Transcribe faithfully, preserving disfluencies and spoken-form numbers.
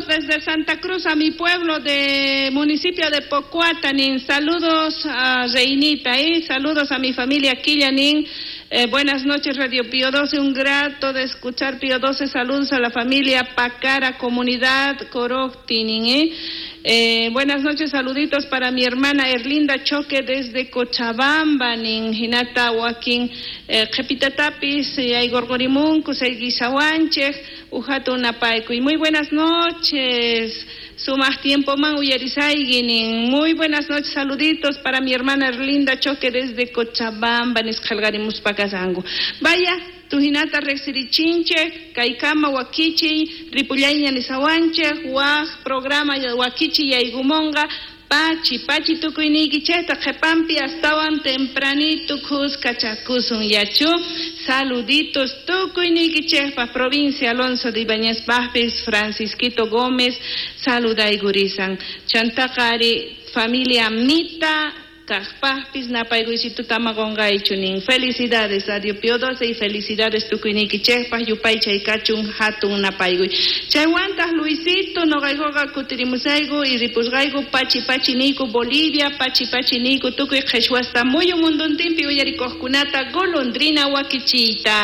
Desde Santa Cruz a mi pueblo de municipio de Pocuatanin. Saludos a Reinita, ¿eh? Saludos a mi familia Quillanin. Eh, buenas noches, Radio Pío doce, un grato de escuchar Pío doce. Saludos a la familia Pacara, comunidad Coroctinin, ¿eh? Eh, buenas noches, saluditos para mi hermana Erlinda Choque desde Cochabamba, nin hinata wakin qhipitatapis aygorgorimunku sayguisawanchej ujatu napaykuy. Muy buenas noches, sumaq tiempo man uyarisayguinin. Muy buenas noches, saluditos para mi hermana Erlinda Choque desde Cochabamba, nisqalgarimuspa kasanku. Vaya, tuhinata riqsirichinchej, kaykama wakichiy, ripullayña nisawanchej, waj programa wakichiy yaykumonqa, pachi, pachi tukuyniykichejta qhepampi astawan tempranito khuskachakusun yachu. Saluditos tukuyniykichejpaj provincia Alonso de Ibáñez pajpis, Francisquito Gómez, saludaykurisan. Chantaqari familia Mita, kajpajpis napaykuysitu tama qonqaychu nin. Felicidades Radio Pío doce y felicidades tukuyniykichejpaj yupaychay kachun hatun napaykuy. Chaywantaq Luisito noqaykuqa kutirimusayku y ripusqayku pachi pachi niyku Bolivia, pachi pachi niyku tukuy qheshwasta muyu munduntinpi uyarikuqkunata golondrina wakichiyta.